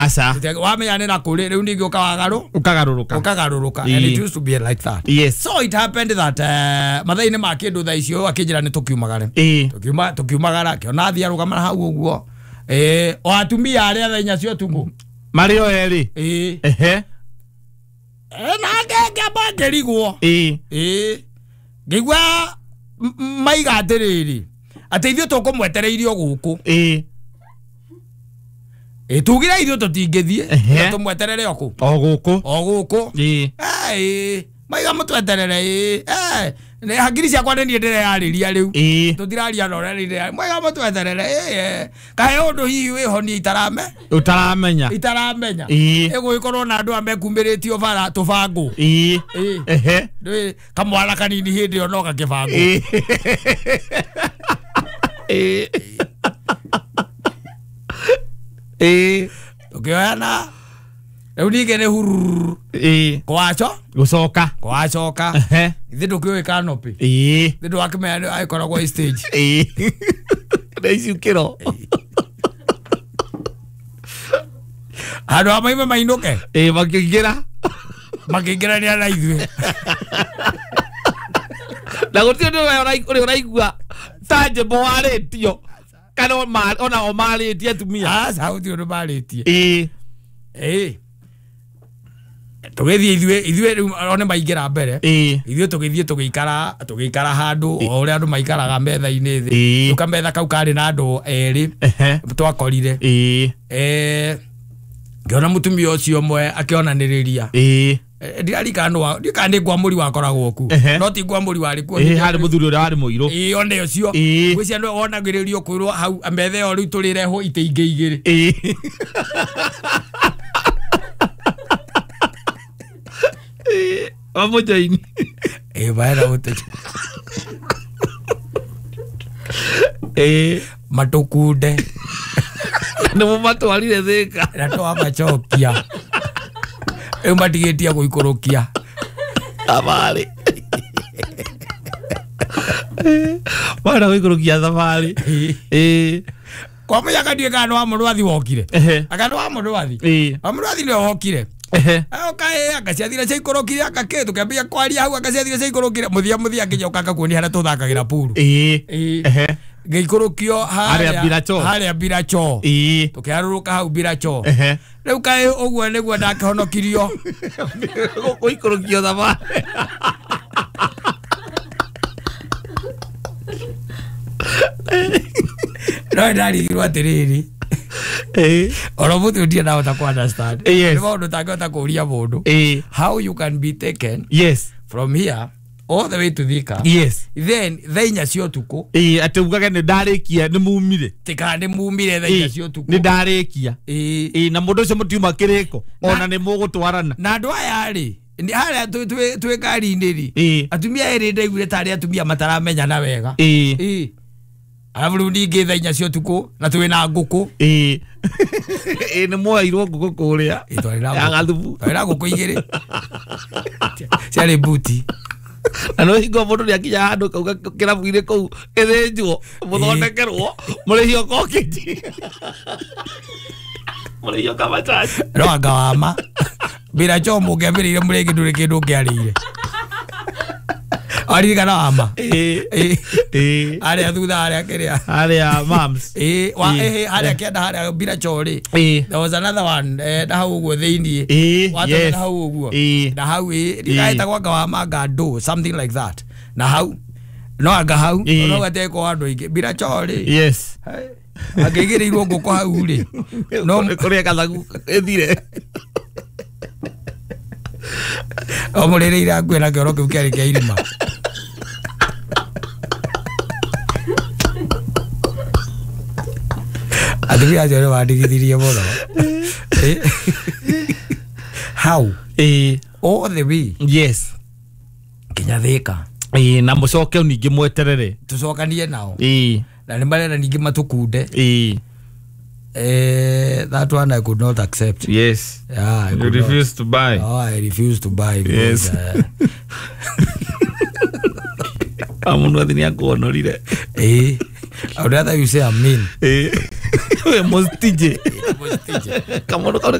Aca. Wamenya nĩ na kũrĩ rĩu ningĩ ũkagarũrũka. Ũkagarũrũka. And it used to be like that. Yes. So it happened that mathaa-inĩ ma kĩndũ thaa icio akĩnjĩra nĩ tũkiumagare. Tũkiumagara akĩona athiĩ arũgama hau ũguo. O atumia arĩa thaa inya cia ũtukũ. Marĩ o erĩ. Ehe. Nake ngĩamba ngĩrigwo. Ngĩigua maiga atĩrĩrĩ atĩ ithuĩ tũkũmwetereirie o gũkũ. Tugire ithuĩ tũtingĩthiĩ tũmweterere o kũ? O gũkũ. O gũkũ. Maiga mũtweterere. Hakiri ciakwa nĩ niĩ ndĩreyarĩria rĩu. Tũtiraria na ũrĩa ndĩreyarĩria. Maiga mũtweterere. Kahe ũndũ hihi wĩho niĩ itaramenya. Itaramenya. Ĩgũgĩkorwo na andũ aya mekumĩrĩtio bara tũbangũ. Ehe. Kamwara kanini hĩndĩ ĩyo no gakĩbangwo. Tũkĩoyana rĩu ningĩ nĩ hururu. Kwaco? Gũcoka. Kwacoka. Ithe ndũkĩũĩ canopy. Ithe ndwakĩmenya nĩ agĩkoragwo stage. Na icukĩro. Handũ ha maime mainũke. Makĩingĩra. Makĩingĩrania na ithuĩ. Na gũtirĩ ũndũ ũrĩa ũraigua ta njĩmbo warĩtio. Kana ona o marĩtie atumia. Aca gũtirĩ ũndũ marĩtie. Tũgĩthiĩ ithuĩ rĩu one maingĩra mbere. Ithuĩ tũgĩthiĩ tũgĩikara handũ o ũrĩa andũ maikaraga metha-inĩ thĩ. Tũkametha kau karĩ na andũ erĩ twakorire. Ngĩona mũtumia ũcio ũmwe akĩonanĩrĩria. Ndirarikana ndikana nĩ Ngwamũri wakoragwo ku. No ti Ngwamũri warĩ kuo. Harĩ mũthuri ũrĩa warĩ mũirũ. One ũcio. Ngwĩciria nĩwe wonagĩrĩrio kwĩrwo hau metha ĩyo rĩu tũrĩrehwo itĩ ingĩ igĩrĩ. Wamũjoini. Baera ũtĩ. Matũkunde. Nĩ mũmatwarire Thĩka. Na twamacokia. Rĩu matigĩtie gũikũrũkia. Thabarĩ. Marenda gũikũrũkia thabarĩ. Kwa mũnyaka ndiũĩ kana nĩ wa Mũrwathi wokire. Anga nĩ wa Mũrwathi. Wa Mũrwathi nĩwe wokire. Oka anga ciathire ciaikũrũkire anga kĩ tũkĩambia kwaria hau anga ciathire ciaikũrũkire mũthia nginya ũkanga kuonia harĩa tũthakagĩra puru. Ngĩikũrũkio harĩa Biracho. Tũkĩharũrũka hau Biracho. Rĩu kaĩ ũguo nĩguo ndakĩhonokirio. Gũikũrũkio thabarĩ. No ndarigirwo atĩrĩrĩ. Oro mũthĩ ndirĩ ndahota kũ understand. Nĩ maũndũ ũtangĩhota kũũria mũndũ. How you can be taken from here all the way to Thika. Then thaa inya cia ũtukũ. Atĩ ugage nĩ ndarĩkia nĩ mumire. Tika nĩ mumire thaa inya cia ũtukũ. Nĩ ndarĩkia. Na mũndũ ũcio mũtiuma kĩrĩko. Ona nĩ mũgũtwarana. Na andũ aya rĩ harĩa twĩ ngari-inĩ rĩ atumia erĩ ndaiguire tarĩ atumia mataramenyana wega. Arabu rĩu ningĩ thaa inya cia ũtukũ na twĩ na ngũkũ. Nĩ mwoeirwo ngũkũ kũrĩa ya gathubu. Twarĩ na ngũkũ igĩrĩ ciarĩ mbuti. Na no hingo mũndũ nĩakinya handũ kauga kĩrabu-inĩ kũu ĩthĩnjwo mũthondekerwo mũrĩhio kokĩnji. Mũrĩhio kamachachi. No anga wama Biracho mũngĩambĩrĩire mũrĩngĩ ndũrĩ kĩndũ ũngĩarĩire. Aririkana wama. Harĩa thutha harĩa kĩrĩa. Harĩa mams. Harĩa kĩanda harĩa Biracho rĩ. There was another one na hau ũguo thĩiniĩ. Watũmĩra hau ũguo. Na hau ndikaĩtagwo anga wama anga ndũ something like that. Na hau no anga hau no gatekwo andũ aingĩ. Biracho rĩ. Yes. Angĩigĩrĩirwo ngũkũ hau rĩ. No kũrĩa gathagu ĩthire. O mũrĩrĩire akuĩ na kĩoro kĩu kĩarĩ kĩa irima. Atumia acio nĩ mandigithirie mũno. How? All the way. Yes. Nginya Thĩka. Na mũcoke ningĩ mweterere. Tũcokanie nao. Na nĩ marenda ningĩ matũkunde. That one I could not accept. Yes. Yeah, you refuse to buy. Oh, I refuse to buy. Yes. Amundu athi nĩ akuonorire. I would rather you say I'm mean. We mũstije. Mũstije. Kamũndũ kau.